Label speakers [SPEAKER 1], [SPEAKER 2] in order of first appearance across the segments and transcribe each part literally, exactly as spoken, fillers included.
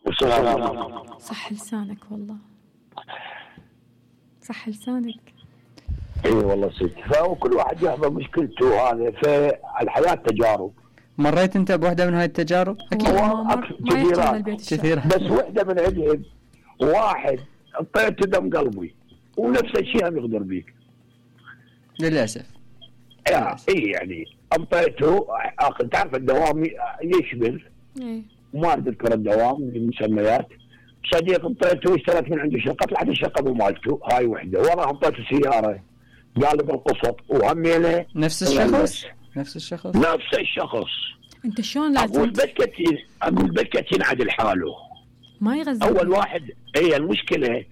[SPEAKER 1] والسلام عليكم.
[SPEAKER 2] صح لسانك والله، صح لسانك.
[SPEAKER 1] اي والله ست، فكل واحد يحضر مشكلته. هذا فالحياة تجارب.
[SPEAKER 3] مريت انت بوحدة من هاي التجارب؟
[SPEAKER 2] اكيد ما يحتاج البيت
[SPEAKER 3] كثيرة،
[SPEAKER 1] بس وحدة من عندهم واحد انطيته دم قلبي ونفس الشيء هم يغدر بيك
[SPEAKER 3] للاسف.
[SPEAKER 1] اي يعني انطيته اخذ، تعرف الدوام يشمل
[SPEAKER 2] ايه
[SPEAKER 1] ما اذكر الدوام المسميات. صديق انطيته اشتريت من عنده شقه، طلعت الشقه مو مالته، هاي وحده. ورا انطيته سياره قال لي بالقسط وهمينه
[SPEAKER 3] نفس الشخص نفس الشخص
[SPEAKER 1] نفس الشخص.
[SPEAKER 2] انت شلون لازم
[SPEAKER 1] اقول بكتين اقول بكتين عدل حاله
[SPEAKER 2] ما يغزل
[SPEAKER 1] اول واحد. هي المشكله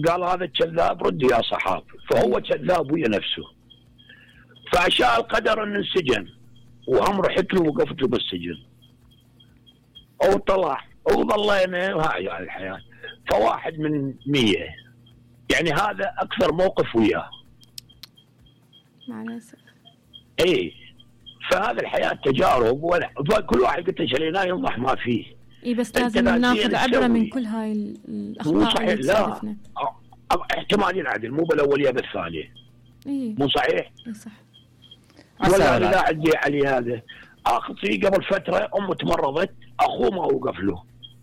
[SPEAKER 1] قال هذا كذاب، رد يا صحاب، فهو كذاب ويا نفسه. فعشاء القدر انه انسجن وهم رحت له وقفت له بالسجن وطلع وظلينا، وهاي يعني الحياه. فواحد من مية يعني هذا اكثر موقف وياه
[SPEAKER 2] مع الاسف.
[SPEAKER 1] اي فهذا الحياه تجارب، وكل واحد قلت شريناه ينضح ما فيه.
[SPEAKER 2] اي بس لازم ناخذ عبره من كل هاي الاخطاء اللي تصادفنا.
[SPEAKER 1] احتمال ينعدل مو بالاوليه بالثانيه.
[SPEAKER 2] اي
[SPEAKER 1] مو صحيح؟
[SPEAKER 2] اي صح.
[SPEAKER 1] ولا لا عندي علي هذا. اخذ فيه قبل فتره امه تمرضت، اخوه ما وقف له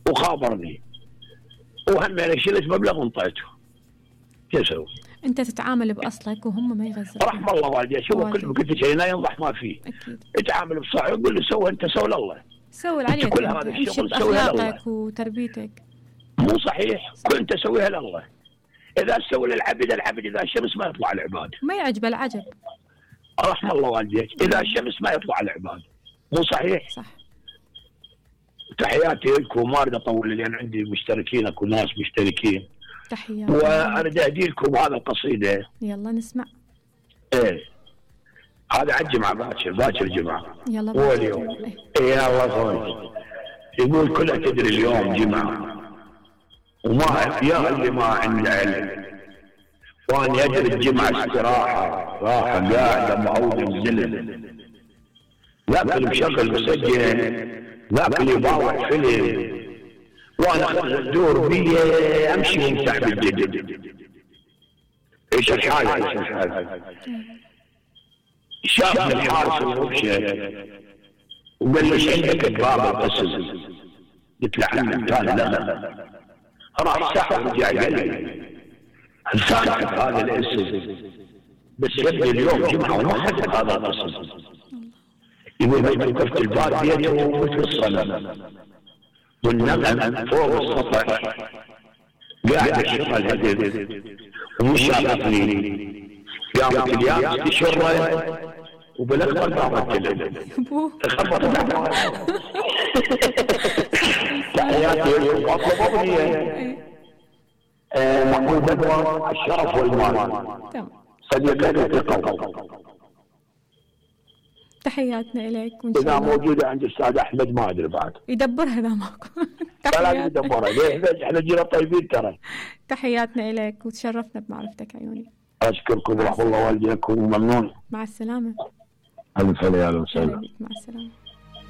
[SPEAKER 1] وخابرني وهم انا شلت مبلغ وانطيته. كيف اسوي؟
[SPEAKER 2] انت تتعامل باصلك وهم ما يغزلون.
[SPEAKER 1] رحم الله والدي. شوف كل قلت شيء لا ينضح ما فيه.
[SPEAKER 2] اكيد.
[SPEAKER 1] اتعامل بصح، يقول له سوي انت، سوي لله.
[SPEAKER 2] سوي اللي عليك.
[SPEAKER 1] كل هذا الشغل سويها لله.
[SPEAKER 2] اخلاقك وتربيتك.
[SPEAKER 1] مو صحيح؟ كل انت سويها لله. اذا سوي للعبد العبد، اذا الشمس ما يطلع العباد.
[SPEAKER 2] ما يعجب العجب.
[SPEAKER 1] رحم الله والديك، اذا الشمس ما يطلع العباد. مو صحيح؟
[SPEAKER 2] صح.
[SPEAKER 1] تحياتي لكم، ما اريد اطول لان عندي مشتركين، اكو ناس مشتركين.
[SPEAKER 2] تحيات.
[SPEAKER 1] واريد اهدي لكم هذا القصيده.
[SPEAKER 2] يلا نسمع.
[SPEAKER 1] ايه هذا على الجمعه، باكر باكر الجمعه.
[SPEAKER 2] يلا
[SPEAKER 1] هو اليوم. ايه يا الله. يقول كلها تدري اليوم جمعه وما يا اللي ما عنده علم، وانا ادري الجمعه استراحه، راحه قاعده معود الزلم، ذاك اللي مشغل مسجل، ذاك اللي يباوع فيلم، وانا الدور بي امشي وامسح بالجدد. ايش الحاله؟ ايش الحاله؟ شاف الحارس المبشر وقال له ايش عندك باب القسم؟ قلت له عمي قال لا. راح ساعه ورجع قال لي لسانك هذا الاسم بس يبدي اليوم جمعه وما حدث هذا القسم. يقول بس وقفت الباب بيته وفي الصلاه والنغم فوق السطح قاعد الشغل هدف ومش شافني. قامت اليابس تشره وبالاخبار قامت تلم خبط تحياتي لكم. اطلب اغنيه محمود بدوى، الشرف والمال. صديقتي في قلبي.
[SPEAKER 2] تحياتنا اليك.
[SPEAKER 1] اذا موجوده عند الاستاذ احمد ما ادري بعد
[SPEAKER 2] يدبرها اذا ماكو.
[SPEAKER 1] لا يدبرها ليه؟ احنا جينا طيبين ترى.
[SPEAKER 2] تحياتنا اليك وتشرفنا بمعرفتك عيوني.
[SPEAKER 1] اشكركم ورحمه الله والديكم وممنون.
[SPEAKER 2] مع السلامه.
[SPEAKER 1] الف سلامه.
[SPEAKER 2] مع السلامه.